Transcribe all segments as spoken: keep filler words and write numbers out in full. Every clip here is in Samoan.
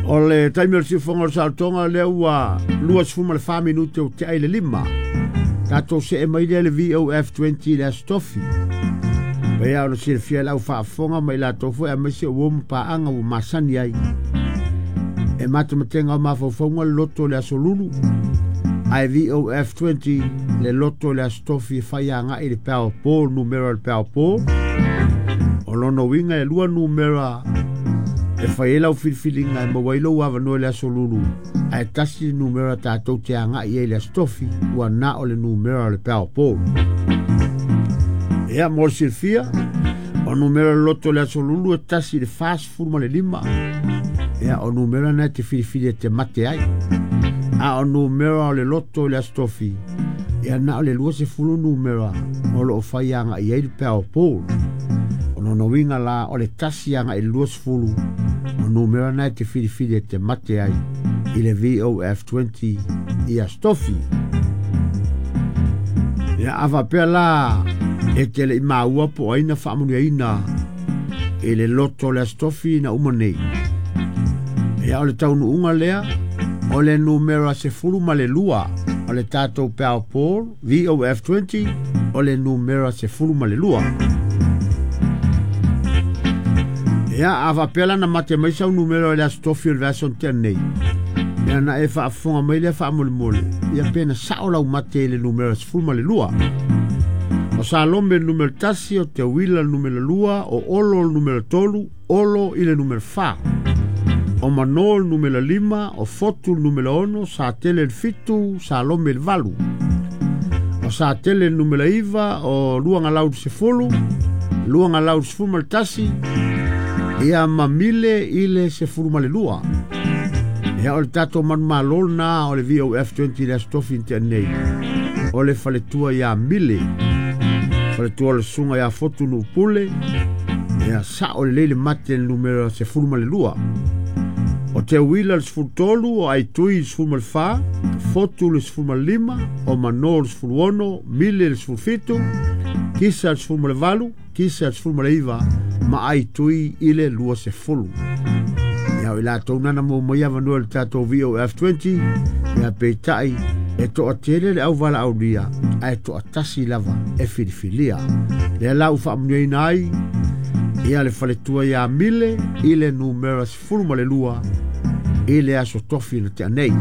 O le taimi o le siufoga o le saolotoga lea ua luasefulu ma le fa minute o te'a i le lima. Tatou se'e mai lea le V O F twenty i le Aso Tofi. Paia o le silafia i lau faafofoga ma i latou foi aemaise ua ma paaga ua masani ai. E matematega o mafaufauga le loto o le Aso Lulu. Ae V O F twenty le loto o le Aso Tofi e fai aga'i le Powerball, numera o le Powerball. O lona uiga e lua numera e fai ai lau filifiliga e maua ai lou avanoa i le Aso Lulu. Ae tasi le numera tatou te aga'i ai i le Aso Tofi ua na o le numera o le Powerball. Ia mo le silafia, o numera o le loto o le Aso Lulu e tasi i le fasefulu ma le lima. Ia o numera na e te filifili e te mate ai. A o numera o le loto o le Aso Tofi, ia na o le luasefulu numera o loo fai aga'i ai le Powerball. O lona uiga la o le tasi aga'i le luasefulu o numera na e te filifili e te mate ai i le V O F twenty i Aso Tofi. Ia a faapea la e te le'i maua po o ai na faamanuiaina i le loto o le Aso Tofi na uma nei. Ia o le taunuuga lea o le numera sefulu ma le lua o le tatou Powerball V O F twenty o le numera sefulu ma le lua. Ia a faapea la na mate mai sau numera o le Aso Tofi o le vaiaso na tea nei. Ia na e faafofoga mai lea faamolemole. Ia pe na sa'o lau mate i le numera sefulu ma le lua. O Salome le numera tasi, o Teuila le numera lua, o Olo le numera tolu, Olo i le numera fa. O Mano le numera lima, o Fotu le numera ono, Satele le fitu, Salome le valu. O Satele le numera iva, o Luagalau le sefulu, Luagalau le sefulu ma le tasi, ia ma Mile i le sefulu ma le lua. Ia o le tatou manumalo lena o le V O F twenty le Aso Tofi na tea nei. O le faletua ia Mile, faletua o le susuga ia Fotu Nuupule, ia sa'o lelei le mate le numera sefulu ma le lua. O Teuila le sefulu tolu, o Aitui le sefulu ma le fa, Fotu le sefulu ma le lima, o Mano le sefulu ono, Mile le sefulu fitu, Kisa le sefulu ma le valu, Kisa le sefulu ma le iva, ma Aitui i le lua sefulu. Ia o i latou nana mo mai avanoa le tatou V O F twenty, ia peita'i e to'atele le auvala'aulia ae to'atasi lava e filifilia. Lea la ua faamanuiaina ai ia le faletua ia Mile i le numera sefulu ma le lua i le Aso Tofi na tea nei.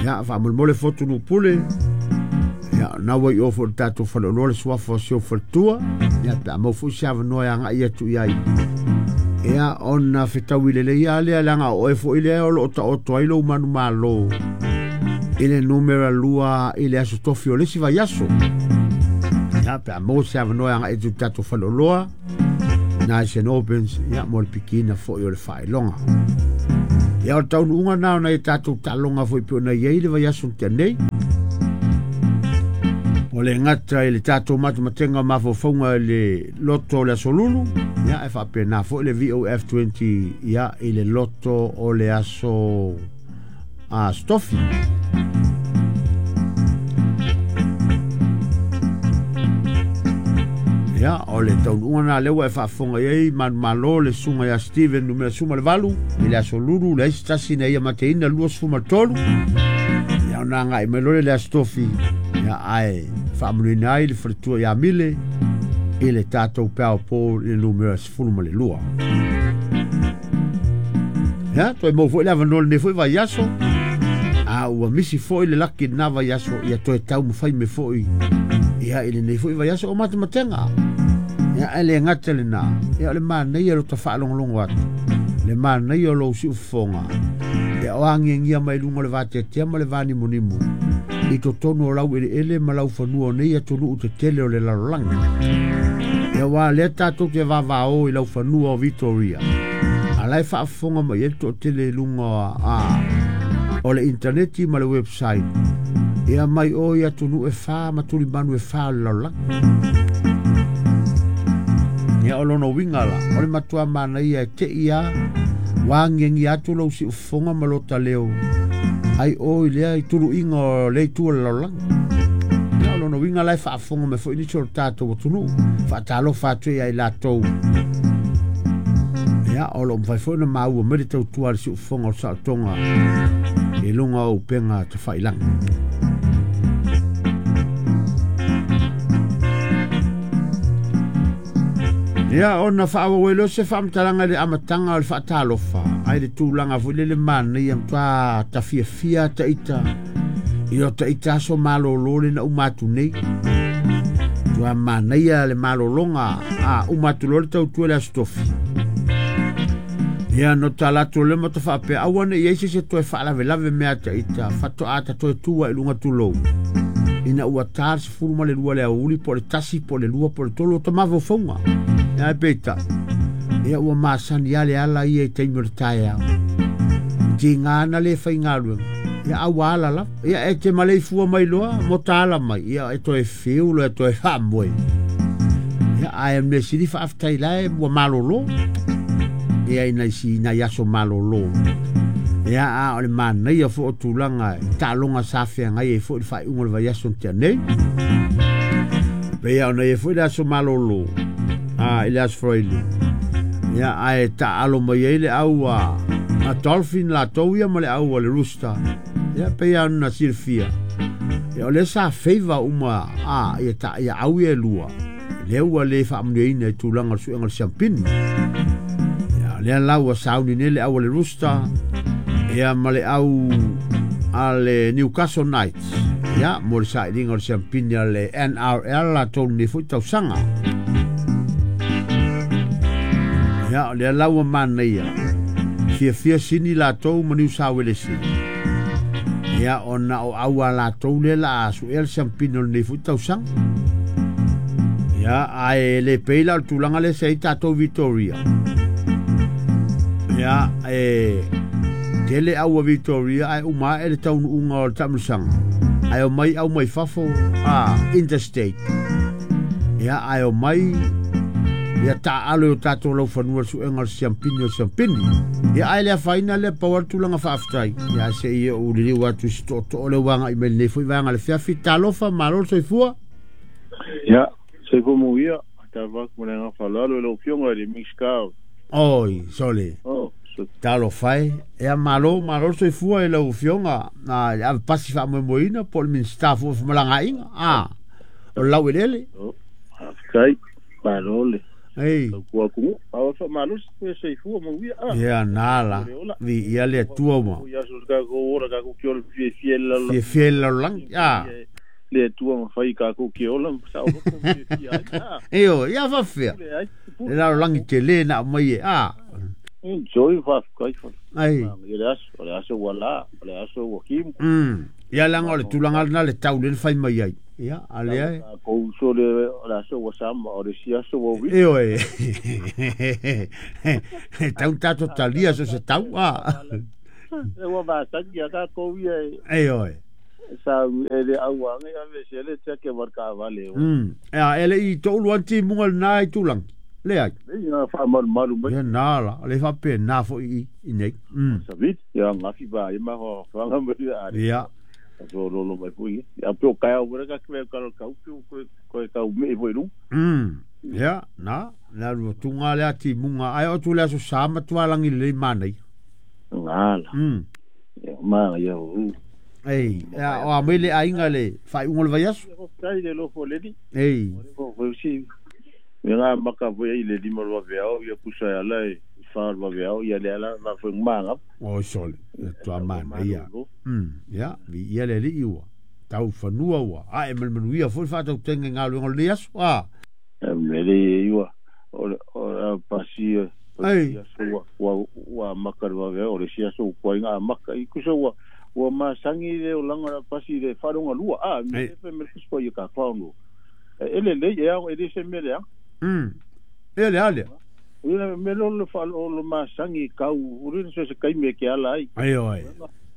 Ia faamolemole Fotu Nuupule, ia na ua i ofo le tatou faleoloa le suafa o si ou faletua, ia pe a mau fo'i se avanoa e aga'i atu i ai. Ia ona fetaui lelei a lea leaga o oe fo'i lea o loo ta'oto ai lou manumalo i le numera lua i le Aso Tofi o le isi vaiaso. Ia pe a maua se avanoa e aga'i atu i le tatou faleoloa Nice and Opens, ia mo le pikina fo'i o le faailoga. Ia o le taunuuga na ona i tatou taaloga foi pe ona i ai le vaiaso na tea nei. O le gata i le tatou matematega o mafaufauga i le loto o le Aso Lulu, ia e faapena foi le V O F twenty ia i le loto o le Aso Aso Tofi. Ia o le taunuuga na lea ua e faafofoga i ai manumalo le susuga ia Steven numera sefulu ma le valu i le Aso Lulu le aisi tasi na ia mateina lua sefulu ma le tolu. Ia ona aga'i mai loa le Aso Tofi, ia ae faamanuiaina ai le faletua ia Mile i le tatou Powerball i le numera sefulu ma le lua. Ia toe maua foi le avanoa lenei foi vaiaso. A ua misi foi le laki lena vaiaso, ia toe taumafai mai foi ia i lenei foi vaiaso o matematega. Ia ae le gata lena, ia o le manaia lo ta faalogologo atu, le manaia o lou siufofoga, ia o agiagia mai luga o le vateatea ma le vanimonimo i totonu o lau eleele ma lau fanua o nei atunuu tetele o le lalolagi. Ia ua lea tatou te vavao i lau fanua o Victoria, a la e faafofoga mai ai le toatele i luga a o le interneti ma le website, ia mai o i atunuu e fa ma tulimanu e fa o le lalolagi. Ia o lona uiga la, o le matua manaia e te'i a ua agiagia atu lou siufofoga ma lota leo ai o i lea i tulu'iga o le itu o le lalolagi. Ia o lona uiga la e faafofoga mai foi nisi o le tatou atunuu, faatalofa atu ia i latou. Ia Ia o lo mawhai fo na maua mai le tautua le siufoga o le saotoga i luga o upega tafailagi. Ia ona faaauau ai se faamatalaga i le amataga o le faatalofa ai le tulaga foi lele manaia matuā tafiafia taita i o taita aso malōlō le na uma atu nei. Tua manaia le malōlōga a uma atu loa le tautua le aso tofi. Ia no talaatu le ma tafaapea aua ne i ai se se toe faalavelave mea taita fatoā ta toe tua i luga tulou. Ina ua tā le sefulu ma le lua le aoauli po o le tasi po o le lua po o le tolu o tamafaufauga. Ia e peita. Ia ua masani a le ala ia i taimi o le taeao. Tigā na le faigaluega. Ia aua ala lava. Ia e te maleifua mai loa mo ta ala mai. Ia e toe fiu loa e toe faamoe. Ia ae mea sili faafetai lae ua malōlō. Ia ina isi nai aso malōlō. Ia a o le manaia fo o tulaga taaloga sa feagai ai foi le faaiuga o le vaiaso na tea nei. Peia ona ia foi le aso malōlō. A i le aso Faraile. Ia ae taalo mai ai le au a a Dolphin latou ia ma le au a le Rooster. Ia peia ona silafia. Ia o lea sa feiva uma a ia ta ia au ia e lua. Lea ua le faamanuiaina i tulaga o le suega o le siampini. Ia lea la ua sauni nei le au a le Rooster ia ma le au a le Newcastle Knights. Ia mo le sailiga o le siampini a le N R L latou lenei foi tausaga. Ia o lea la ua manaia fiafia sini latou ma Niu Sauelesi. Ia ona o au a latou lea la a suea le siampini o lenei foi tausaga. Ia ae le pei la o le tulaga lea sa i tatou Victoria. Ia e tele au a Victoria ae uma ae le taunuuga o le taamilosaga. Ae omai au mai fafo a interstate. Ia ae omai ia taalo i o tatou laufanua le suega o le siampini o le siampini. Ia ae le afaina lea pau a le tulaga faafetai. Ia seia ou liliu atu i se tootoo le ua agai mai lenei foi vaega le feafi. Talofa, malo le soifua. Ia, soifua manuia. Talofa atu ma le agaga faaaloalo i lau afioga i le Minisita. Oi, sole. Oh, so... Talofa e. Ia malo, malo le soifua i lau afioga. Na le ave pasi faamoemoeina po o le Minisita foi o Femalagaaiga. A, o le laueleele. Oh, faafetai, malo le. Ei. Tautua atunuu. Aua faamalosi pe soifua manuia. Ah. Ia na la. Vi ia le atua uma. Ia so tatou ola tatou ke ola fiafia i le lalolagi. Fiafia i le lalolagi. Ah. Le Atua mafai tatou ke ola ma saoloto ma fiafia ai. Ah. Io, ia faafefea. Pule ai. Le lalolagi tele na aumai e. Ah. Enjoy faafetai fa. Ai. Ia le aso, o le aso ua la, o le aso ua kimu. Mm. Ia leaga o le tulaga lena le tau le fai mai ai. Ia, a lea e. Tatou uso le o le aso ua sama, o le isi aso ua uivi. Ioe. E tau tatou talia so se tau. Ah. Ua masani a tatou ia e. Ioe. Sa e le auaga ia vese le tiake ma le taavale. Mm. Ea, e le i toulu ane timuga lenā i tulaga. Le ai. Ia faamalumalu mai. Ia nā la, le faapena foi i i nei. Mm. Saviti, ia gafi vaai ma faga mai le ale. Ia. So lolo mai foi. Ia pe o kaea ua ka kwe ka ka upi ko ko ka ume foi lu. Mm. Ia, na, na lu tunga le ati munga ai o tu le aso sa matua langi le manai. Ngala. Mm. Ia ma ia u. Ei, ia o a mai le aiga le faaiuga o le vaiaso. Tai le lofo leli. Ei. O foi si. Me ngā maka foi ai le lima lua veao, ia pusa e ala e wha lua veao, ia le ala ma foi ngā. Oi sole, tua mana ia. Mm, ia, vi ia le li ua. Tau fanua ua. A e malmanuia foi whaatau tenge ngā luenga o le aso. A. E mele e iwa, o le o pasi Ei. ua ua ua maka lua veao, o le si aso kua ngā maka. I kusa ua ua masangi le o langa la pasi le wharonga lua. A, me pe me kuspa ia ka whaongo. E le le e au e le se mele a. Mm. E le ale. Ina me lo le fa lo masangi kau uri se se kai me ke ala ai. Ai oi.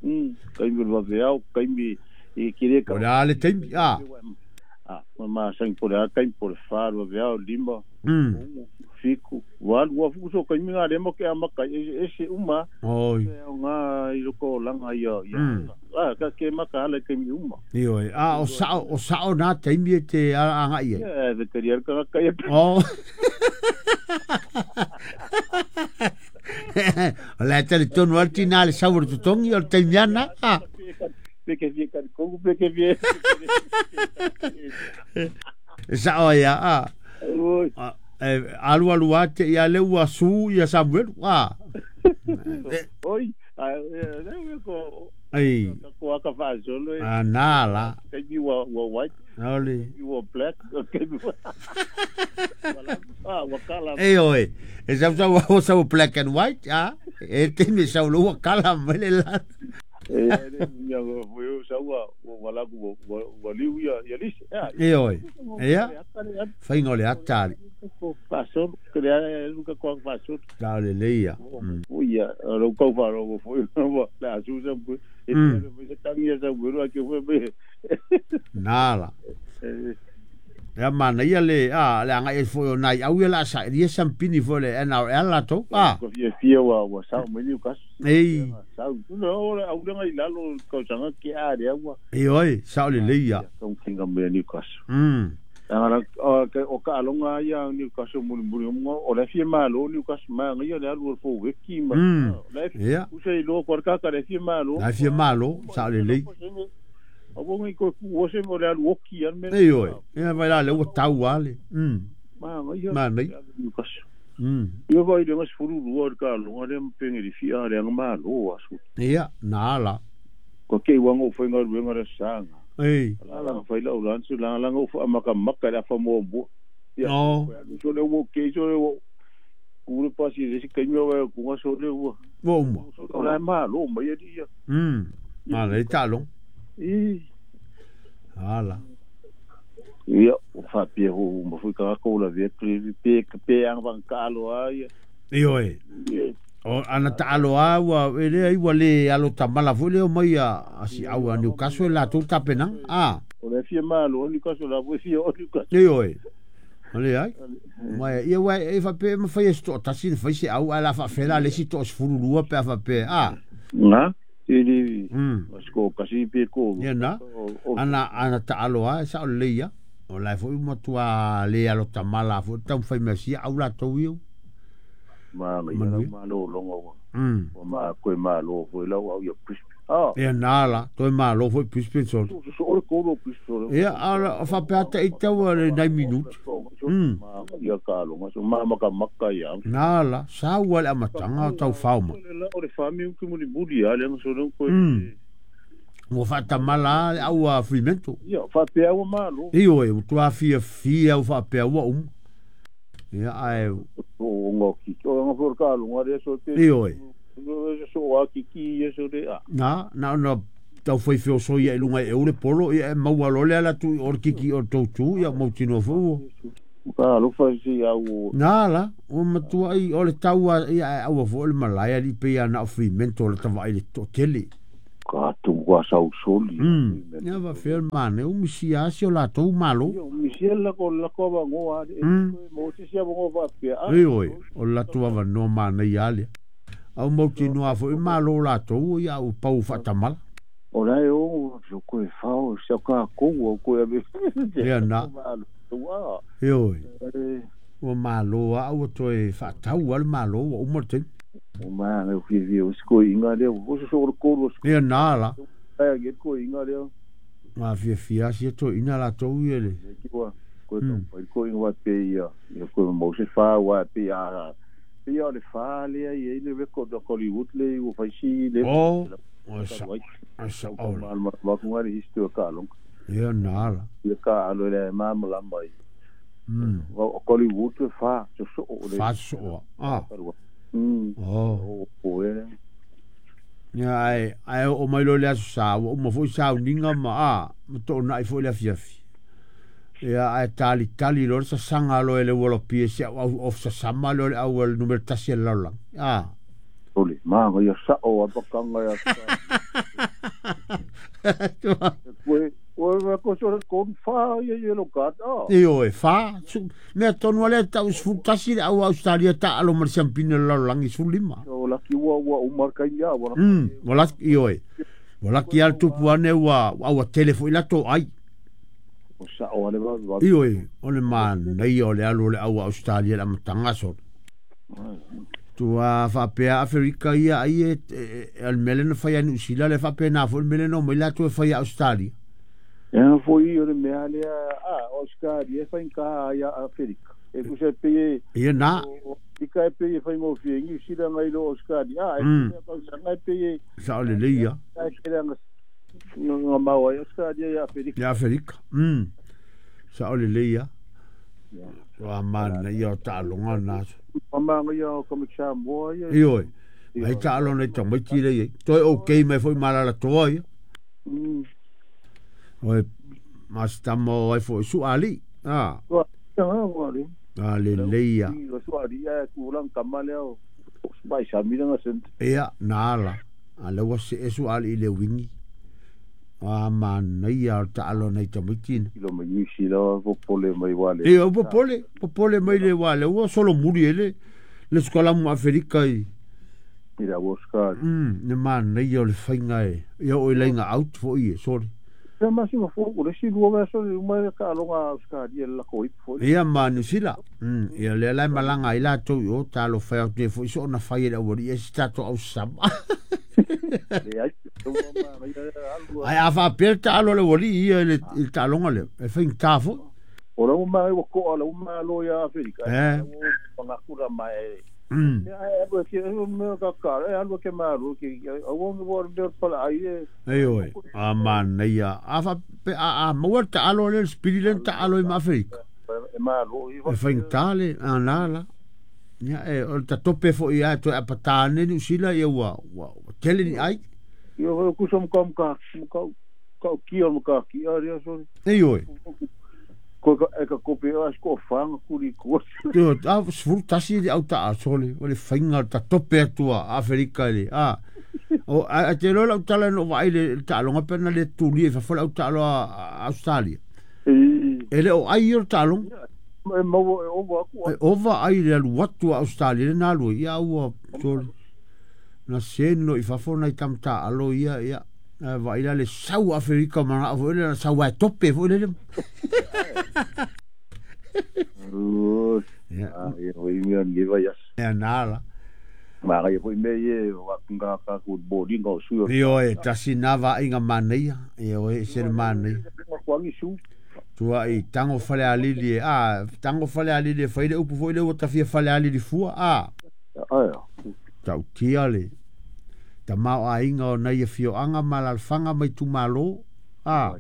Mm, kai me lo veao, kai me e kire ka. Ora le taimi a. A, ma masangi por a kai por fa lo veao lima. Mm. Fiku, walu wa fuku so kai me ngā lemo ke amaka e se uma. Oi. Ngā i loko langa ia ia. A ka ke maka ala kai me uma. Io a o sa o sa o na taimi e te anga ia. E veteriar ka kai. Oh. O le tali tonu al tina le sau o totongi o le taimiana. Ah. Pe ke fie ka ko pe ke fie. Sa o ia a. Alu alu ate ia le ua su ia Samuel. Ah. Oi, a e ko ai ko aka fa solo. Ah na la. Ke mi wa wa white. Oli. Wa black. Ke mi wa. Ah, wa kala. E oi. E sa sa wa sa black and white, ah. E te mi sa lo wa kala mele la. E ya vo sa wa wa la ku wa liu ya ya lis. E oi. Ia. Fainga o le atali. Fa solo ke le luka ko fa solo. Ta le leia. O ia ro ko fa ro fo la su sa bu. E te tangi sa bu ro ke fo be. Nala. Ya mana ia le a le anga e fo nai au ia la sa ia sampini fo le N R L la to a ko fia fia wa wa sa mo ni ka ei sa no au le ngai lalo ko sanga ke a le wa e oi sa le le ia ko kinga me ni ka mm ara o ka o ka longa ia ni ka so mo mo o le fia ma lo ni ka ma ngai le alu fo we ki ma le ia u se lo ko ka ka le fia ma lo la fia ma lo sa le le o bongi ko o se mo le alu oki an me ei oi ia vai la le o tau ale mm ma ngai ma nei mm ia vai le ngas furu lu ka lo le mpenge di fia le ma lo asu ia na la ko ke wa ngo fo ngal wenga le sanga ei la la fai la ulan su la la ngo fo amaka makka la fa mo bo ia no so le wo ke so le wo ku le pasi le si ke nyo wa ku nga so le wo wo mo la ma lo ma ia dia mm ma le ta lo i ala ia o fa pie ho mo fu ka ko la ve pe pe ang van ka lo ai e oi o ana ta alo a wa ele ai wa le alo tamala fo le o mai a si au a Newcastle la tu tapena a o le fie ma lo Newcastle la vo fie o Newcastle e oi ole ai ma ia wa e fa pe ma fa esto tasi fa se au ala fa fela le si to sfuru lua pe fa pe a na ili mm ko kasi pe ko ia na ana ana ta alo a sa o le ia o la fo mo tua le alo tamala fo tau fai mesia au la to iu ma ma ma lo longo mm o ma ko ma lo fo la au ia pus ah ia na la to ma lo fo pus penso so o ko lo pus ia ala fa pe ata i tau le nine minutes mm ma ia ka lo so ma ma ka makka ia na la sa wa la matanga tau fauma o le fami ku mo ni budi ale so no ko mo fa tamala au a Fremantle ia fa pe au ma lo e oi tu a fia fia o fa pe au um ia ai o ngo ki o ngo for ka lo ngare so te e oi so a ki ki ia so de a na na no tau foi fio so ia lunga e ule polo ia maua lo le ala tu o kiki o tau tu ia mau tino fo ka lo fa si au na la o matua i o le tau ia au fo le malaya li pe ia na Fremantle le tava i le to tele ka tu wa sau soli ia va fel mane o misia si o la tou malo ia misia la ko la ko va ngo a mo si sia ngo va pe a e oi o la tua va no mane ia le au mau tino a fo malo la tou ia o pau fatamala o la o so ko e fa o sa ka ko o ko e ia na e oi o malo a o toe fatau al malo o mo te o ma me fi vi o sko inga le o so so ko ro ia na la ai ge ko inga le ma fi fi a si to ina la to ia le ko ko to ko inga pe ia ia ko mo se fa wa pe a pe ia le fa le ia le record Hollywood le o fa si le o o sa o sa o ma ma ko ngari histo ka long ia na la ia ka alo le ma ma la mai mm o Hollywood fa so so le fa so a mm oh o e ia ai ai o mai lo le aso sa o mo fo sa ninga ma a mo to na i fo le afia fi ia ai tali tali lo sa sanga lo ele wolo pie se au of sa sama lo le au el numero tasi la la a ole ma ia sa o apakanga ia koe o ko so ko fa ia ia lo ka a e o e fa me tonu ale tau sfutasi au Australia ta alo mar sampina la langi sulima o la ki wa wa umar ka ia wa mm wala i oi wala ki al tupu ane wa au telefo ila to ai o sa o ale va i oi o le man nei o le alo le au Australia la matanga so Tua faapea Aferika ia ai e o le mea lea na fai ai Niu Sila le faapea na foi le mea lea na omai latou e fai ia Australia. Ia foi o le mea lea a Australia e faigata ai ia Aferika. E tusa e pei e Ia na. Afrika e pei e faigofie i Niu Sila nai lo Australia. A e Mm. tele tausaga e pei e Sao lelei ia. e tele aga gamao ai Australia ia Aferika. Ia Aferika. Mm. Sao lelei ia. Ia. Ua manaia o taaloga na aso. Pamaga ia o Comic Samoa ia. Ioe. Ai taaloga i tamaiti lea i ai. Toe okay mai foi malalatoa ia. Mm. Oe masitama o ai foi suali. Ah. Ua ia ua le. A lelei ia. Ua suali ia kulang kama lea o mai sami nga sent. Ia na ala. A le ua se e suali i le wingi. A manaia o taaloga i tamaiti na. Ilo mai New Zealand popole mai wale. Ia o popole, popole mai le wale ua solo muri ele. Le skola mu Afrika i. Ira ua ska. Mm, ne manaia o le whainga e. Ia o ilainga out fo i e, sorry. Ia masinga fo o le si lua vea sole uma ka alonga Australia la ko ipo fo. Ia ma New Zealand. Mm, ia le lai malanga i la tou i o talo whai au te fo i so na whai e le awari e si tato au sama. Le ai ua ma ia alu. Ai a wha pere ta alo le wali ia le le taaloga le. E whainga tā fo. O la uma e ko ala uma lo ia Afrika. Eh. Pangakura mai. Mm. Ia e alu ke me ka ka e alu ke maru ke au o o pala ai e. Ei oi. A manaia. A wha pe a a maua ta alo le spiri le ta alo i ma Afrika. E maru i E whainga tā le a nā la. Ia e o ta tope fo i a toe apatane New Zealand ia ua ua tele ni ai. Ia o kusa mo ka ka ka ki o ka ki a ria so. Ei oi. Ko ka e ka kope o asko fanga kuri ko. Teo, a sefulu tasi le au taasole o le faiga ta tope atua Aferika le a o a a te loa lau tala na ou vaai le taaloga pe na le tulia i fafo le au taalo a Australia. E le o ai ia o le taaloga. E maua e ova aku. E ova ai le alu atu a Australia le na alu ai ia ua sole. Na seno i fafo nai tamataalo ia ia vaai la le sau Aferika manao foi le na sau ae tope foi le. Ia. Ia foi mea ni vai as. Ia na la. Ma ia foi mea ie wa nga ka ku boarding o su. Ioe tasi na vaaiga manaia. Ioe se le manaia. Kwa ngi su. Tua i tango fale alili e a tango fale alili e fai le upu foi le ua tafia fale alili fua a. Ai. Tautia le. Tamao aiga o nai afioaga ma alaalafaga mai itumālō a.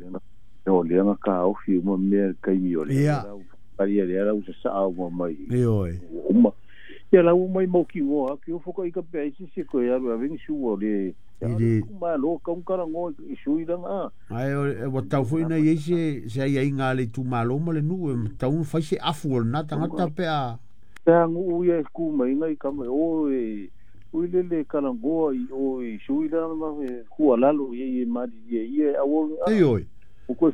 O le anga ka ofi uma mea kaimi o le. Ia. Pari le ara usa sa uma mai. Ioe. Uma. Ia la uma mai mau ki o ha ki o foka i ka pe si si ko ia ru aveng su o le. I le Ma lo ka un kara ngo i su i ranga. Ai o ua tau foi na iai se se aiaiga a le itumālō ma le nuu e matau ona fai se afu o lenā tagata pe a. Pe ngu ia ku mai ngai ka mai o e ui le le karangoa i o i sui ranga ma e kua lalo i e mari i e au Ioe. O koe wha